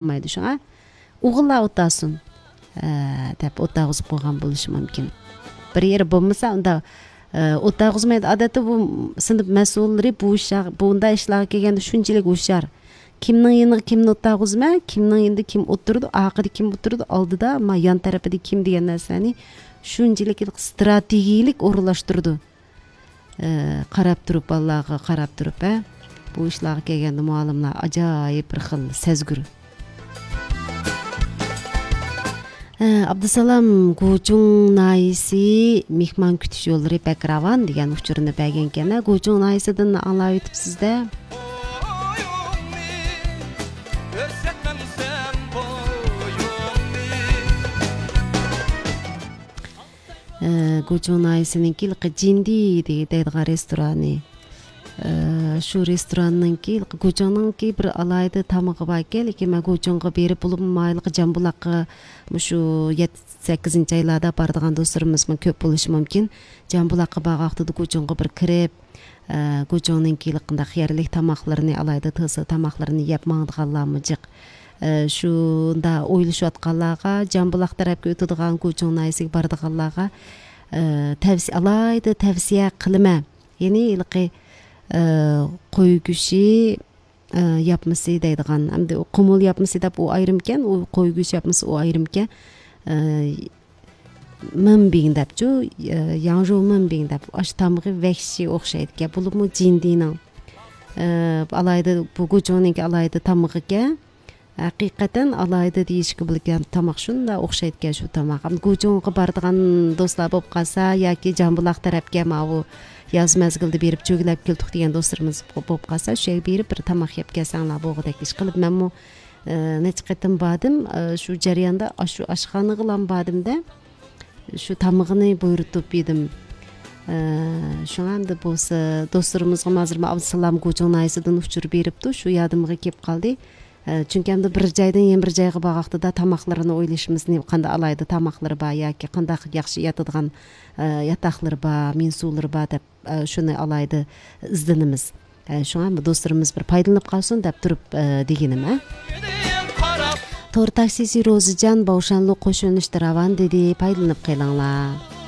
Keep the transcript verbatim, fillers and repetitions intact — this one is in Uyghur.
بولمايدۇ. شۇڭا ئوغۇللار ئولتۇرسۇن، ئە، دەپ ئولتۇرغۇزۇپ قويغان بولۇشى مۇمكىن. بىر يېرى بولمىسا، ئۇندا، ئە، ئولتۇرغۇزمايدۇ. ئادەتتە بۇ سىنىپ مەسئۇللىرى بۇ ئىشلار، بۇنداق ئىشلارغا كەلگەندە شۇنچىلىك ھوشيار. كىمنىڭ يېنىغا كىمنى ئولتۇرغۇزىمەن، كىمنىڭ يېنىدا كىم ئولتۇرىدۇ، ئارقىدا كىم ئولتۇرىدۇ، ئالدىدا، ما يان تەرىپىدە كىم دېگەن نەرسىلەرنى شۇنچىلىك ستراتېگىيىلىك ئورۇنلاشتۇرىدۇ. ئە، قاراپ تۇرۇپ، بالىلارغا قاراپ تۇرۇپ، ھە، بۇ ئىشلارغا كەلگەندە مۇئەللىملەر ئاجايىپ بىر خىل سەزگۈر. ئە، ئابدۇسالام، گۇچۇڭ ناھىيەسى مېھمان كۈتۈش يوللىرى بەك راۋان دېگەن ئۇچۇرنى بەرگەنكەن. گۇچۇڭ ناھىيەسىدىن ئاڭلاۋېتىپسىز-دە. ئە، گۇچۇڭ ناھىيەسىنىڭكى ھېلىقى جىندى دەيدىغان رېستورانى. ئە، شۇ رېستوراننىڭكى، ھېلىقى گۇچۇڭنىڭكى بىر ئالاھىدە تامىقى باركەن، لېكىن مەن گۇچۇڭغا بېرىپ، بولۇپمۇ ھېلىقى جامبۇلاققا مۇشۇ يەتتە، سەككىزىنچى ئايلاردا بارىدىغان دوستلىرىمىزمۇ كۆپ بولۇشى مۇمكىن. جامبۇلاققا بارغان ۋاقتىدا گۇچۇڭغا بىر كىرىپ، ئە، گۇچۇڭنىڭكى ھېلىقىنداق يەرلىك تاماقلىرىنى، ئالاھىدە تېز تاماقلىرىنى يەپ ماڭىدىغانلارمۇ جىق. ئە، شۇنداق ئويلىشىۋاتقانلارغا، جامبۇلاق تەرەپكە ئۆتىدىغان، گۇچۇڭ ناھىيەسىگە بارىدىغانلارغا، ئە، تەۋسىيە، ئالاھىدە تەۋسىيە قىلىمەن. يەنى ھېلىقى، ئە، قوي گۆشى، ئە، ياپمىسى دەيدىغان، ئەمدى قۇمۇل ياپمىسى دەپ ئۇ ئايرىمكەن، ئۇ قوي گۆشى ياپمىسى ئۇ ئايرىمكەن. ئە، مېنبىڭ دەپچۇ، ئە، ياڭژۇ مېنبىڭ دەپ، ئاشۇ تامىقى ۋەھشىي ئوخشايدىكەن. بولۇپمۇ جىندىنىڭ، ئە، ئالاھىدە، بۇ گۇچۇڭنىڭكى ئالاھىدە تامىقىكەن. ھەقىقەتەن ئالاھىدە دېيىشكە بولىدىكەن، تاماق شۇنداق ئوخشايدىكەن شۇ تاماق. ئەمدى گۇچۇڭغا بارىدىغان دوستلار بولۇپ قالسا ياكى جامبۇلاق تەرەپكە ماۋۇ ياز مەزگىلىدە بېرىپ چۆگىلەپ كەلدۇق دېگەن دوستلىرىمىز بولۇپ قالسا، شۇ يەرگە بېرىپ بىر تاماق يەپ كەلسەڭلار بولغۇدەك ئىش قىلىپ، مەنمۇ، ئە، نەچچە قېتىم باردىم. ئە، شۇ جەرياندا ئاشۇ ئاشخانىغىلام باردىم-دە، شۇ تامىقىنى بۇيرۇتۇپ يېدىم. ئە، شۇڭا ئەمدى بولسا دوستلىرىمىزغىمۇ ھازىر ئابدۇسالام گۇچۇڭ ناھىيەسىدىن ئۇچۇر بېرىپتۇ، شۇ يادىمغا كېلىپ قالدى. ئە، چۈنكى ئەمدى بىر جايدىن يەنە بىر جايغا بارغاقتىدا تاماقلىرىنى ئويلىشىمىز، نېمە، قانداق ئالاھىدە تاماقلىرى بار ياكى قانداق ياخشى ياتىدىغان، ئە، ياتاقلىرى بار، مېنسۇلىرى بار دەپ، ئە، شۇنى ئالاھىدە ئىزدىنىمىز. ئە، شۇڭا بۇ دوستلىرىمىز بىر پايدىلىنىپ قالسۇن دەپ تۇرۇپ، ئە، دېگىنىم، ھە. تور تاكسىسى روزىجان باۋشانلۇق قوشۇلۇشتا راۋان دېدى، پايدىلىنىپ قېلىڭلار.